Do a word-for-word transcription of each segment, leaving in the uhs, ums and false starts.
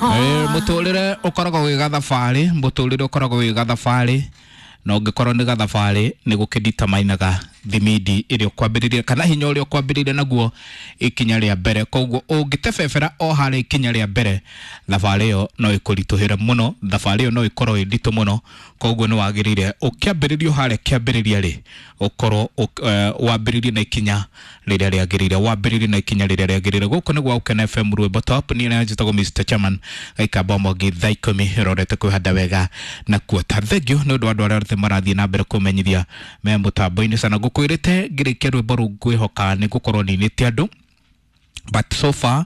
Mũtũrĩre ũkoragwo wĩ gathabarĩ, mũtũrĩre ũkoragwo wĩ gathabarĩ, na ũngĩkorwo nĩ gathabarĩ nĩ gũkĩnditamainaga thimindi ĩrĩa ũkwambĩrĩria kana hinya ũrĩa ũkwambĩrĩria naguo ikinya rĩa mbere. Koguo ũngĩtebebera o harĩa ikinya rĩa mbere, thabarĩ ĩyo no ĩkũritũhĩre mũno, thabarĩ ĩyo no ĩkorwo ĩ nditũ mũno. Koguo nĩ wagĩrĩire ũkĩambĩrĩria o harĩa kĩambĩrĩria rĩ, ũkorwo wambĩrĩrie na ikinya rĩrĩa rĩagĩrĩire, wambĩrĩrie na ikinya rĩrĩa rĩagĩrĩire. Gũkũ nĩ gwa Ũkena F M Rwĩmbo Top, niĩ nĩ njĩtagwo Mister Chairman, gaikamba mwangi thaa ikũmi rorete kwĩhanda wega na kuota. Thengiũ nĩ ũndũ wa andũ arĩa othe marathiĩ na mbere kũmenyithia me mũtambo-inĩ sana. Ngũkwĩrĩte ngĩrĩkia rwĩmbo rũu ngwĩhoka nĩ ngũkorwo ninĩte andũ, but so far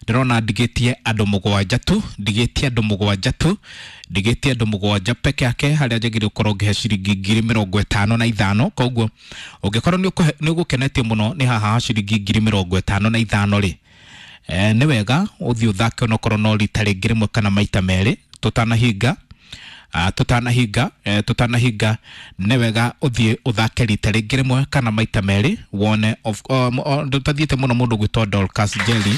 ndĩrona ndigĩtie andũ mũgwanja tu, ndigĩtie andũ mũgwanja tu, ndigĩtie andũ mũgwanja peke yake harĩa njagĩrĩire gũkorwo ngĩhe ciringi ngiri mĩrongo ĩtano na ithano. Koguo ũngĩkorwo nĩ ũgũkenetio mũno nĩ haha ha ciringi ngiri mĩrongo ĩtano na ithano rĩ, eh, nĩ wega ũthiĩ ũthake onokorwo no rita rĩngĩ rĩmwe kana maita merĩ tũtanahinga. Uh, tutanahinga eh, tutanahinga nĩ wega ũthiĩ ũthake rita rĩngĩ rĩmwe kana maita merĩ wone ndũtathiĩte mũno mũndũ gwĩtwo Dorcas Jelly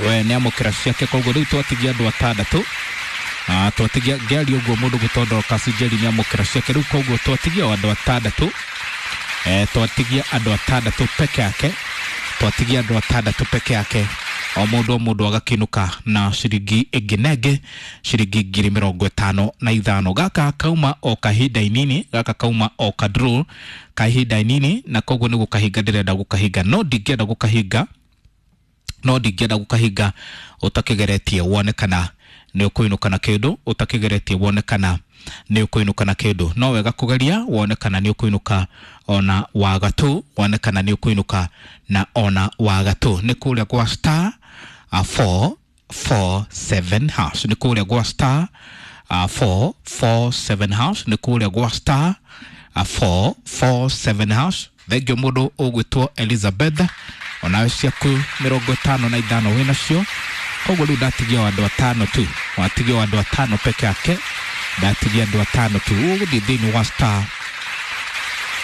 we nĩ amũkĩra ciake. Koguo rĩu twatigia andũ atandatũ, uh, twatigia ngĩaria ũguo mũndũ gwĩtwo Dorcas Jelly nĩ amũkĩra ciake rĩu. Koguo twatigia andũ atandatũ, eh, twatigia andũ atandatũ peke yake, twatigia andũ atandatũ peke yake, o mũndũ o mũndũ agakĩinũka na ciringi ĩngĩ na ĩngĩ ciringi ngiri mĩrongo ĩtano na ithano. Gaka kauma o kahinda inini, gaka kauma o ka draw kahinda inini, na koguo nĩ gũkahinga ndĩrenda gũkahinga, no ndingĩenda gũkahinga, no ndingĩenda gũkahinga ũtakĩgeretie wone kana nĩ ũkũinũka na kĩndũ, ũtakĩgeretie wone kana nĩ ũkũinũka na kĩndũ. No wega kũgeria wone kana nĩ ũkũinũka ona wagatũ, wone kana nĩ ũkũinũka na ona wagatũ. Nĩ kũrĩa gwa star four four seven hash, nĩ kũrĩa gwa star four four seven hash, nĩ kũrĩa gwa star four four seven hash. Thengio mũndũ ũgwĩtwo Elizabeth, onawe ciaku mĩrongo ĩtano na ithano wĩnacio. Koguo rĩu ndatigia o andũ atano tu, watigia o andũ atano peke yake, ndatigia andũ atano tu. Ũgũthiĩ thĩinĩ wa star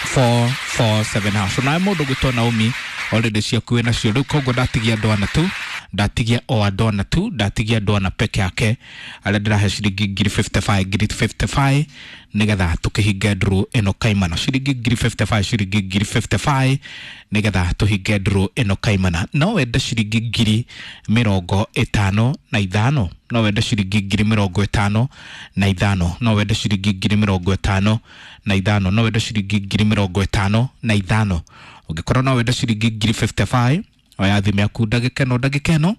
four four seven hash. Onawe mũndũ ũgwĩtwo Naomi already ciaku wĩnacio rĩu. Koguo ndatigia andũ ana tu, ndatigia o andũ ana tu, ndatigia andũ ana peke yake arĩa ndĩrahe ciringi ngiri fifty five, ngiri fifty five nĩgetha tũkĩhinge draw ĩno kaimana. Ciringi ngiri fifty five, ciringi ngiri fifty five nĩgetha tũhinge draw ĩno kaimana. No wende ciringi ngiri mĩrongo ĩtano na ithano, no wende ciringi ngiri mĩrongo ĩtano na ithano, no wende ciringi ngiri mĩrongo ĩtano na ithano, no wende ciringi ngiri mĩrongo ĩtano na ithano. Ũngĩkorwo no wende ciringi ngiri fifty five, oya thimũ yaku ndagĩka ĩno ndagĩka ĩno,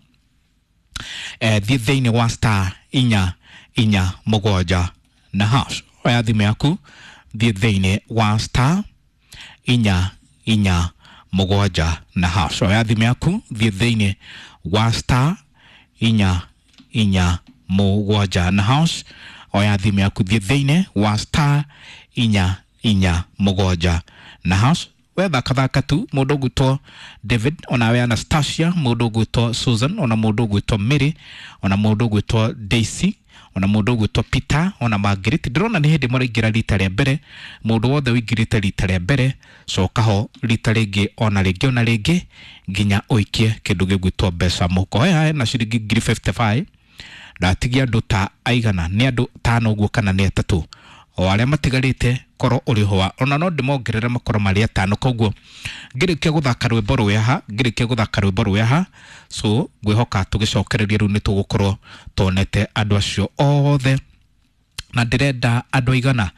eh, thiĩ thĩinĩ wa star inya inya mũgwanja na hash. Oya thimũ yaku thiĩ thĩinĩ wa star inya inya mũgwanja na hash. Oya thimũ yaku thiĩ thĩinĩ wa star inya inya mũgwanja na hash. Oya thimũ yaku thiĩ thĩinĩ wa star inya inya mũgwanja na hash. We thaka tu mũndũ ũgwĩtwo David, onawe Anastasia, mũndũ ũgwĩtwo Susan, ona mũndũ ũgwĩtwo Mary, ona mũndũ ũgwĩtwo Daisy, ona mũndũ ũgwĩtwo Peter, ona Margaret. Ndĩrona nĩ hĩndĩ mũraingĩra rita rĩa mbere. Mũndũ wothe ũingĩrĩte rita rĩa mbere, coka ho rita rĩngĩ ona rĩngĩ ona rĩngĩ nginya ũikie kĩndũ gĩgwĩtwo mbeca mũhuko. He na ciringi ngiri fifty five, ndatigia andũ ta aigana, nĩ andũ tano ũguo kana nĩ atatũ, o arĩa matigarĩte korwo ũrĩ ho ona no ndĩmongerere makorwo marĩ atano. Koguo ngĩrĩkia gũthaka rwĩmbo rũrĩa ha, ngĩrĩkia gũthaka rwĩmbo rũrĩa ha, so ngwĩhoka tũgĩcokereria rĩu nĩ tũgũkorwo tuonete andũ acio othe. Na ndĩrenda andũ aigana,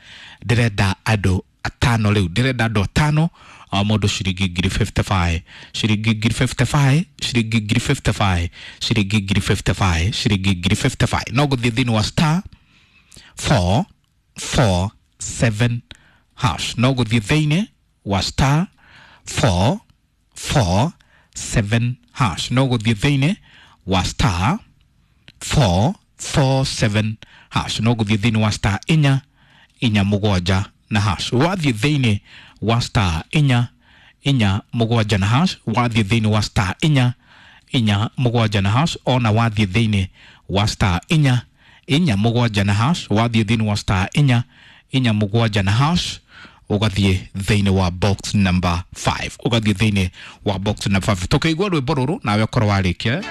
ndĩrenda andũ atano rĩu, ndĩrenda andũ atano, o mũndũ ciringi ngiri fifty five, ciringi ngiri fifty five, ciringi ngiri fifty five, ciringi ngiri fifty five, ciringi ngiri fifty five. No gũthiĩ thĩinĩ wa star four four seven hash, no gũthiĩ thĩinĩ wa star four four seven hash, no gũthiĩ thĩinĩ wa star four four seven hash, no gũthiĩ thĩinĩ wa star inya inya mũgwanja na hash. Wathiĩ thĩinĩ wa star inya inya mũgwanja na hash, wathiĩ thĩinĩ wa star inya inya mũgwanja na hash, ona wathiĩ thĩinĩ wa star inya inya mũgwanja na hash, wathiĩ thĩinĩ wa star inya inya mũgwanja na hash, ugathie thiini wa box number five, ugathie thiini wa box number five. Tukiigua rwimbo ruru nawe ukorwo warikia.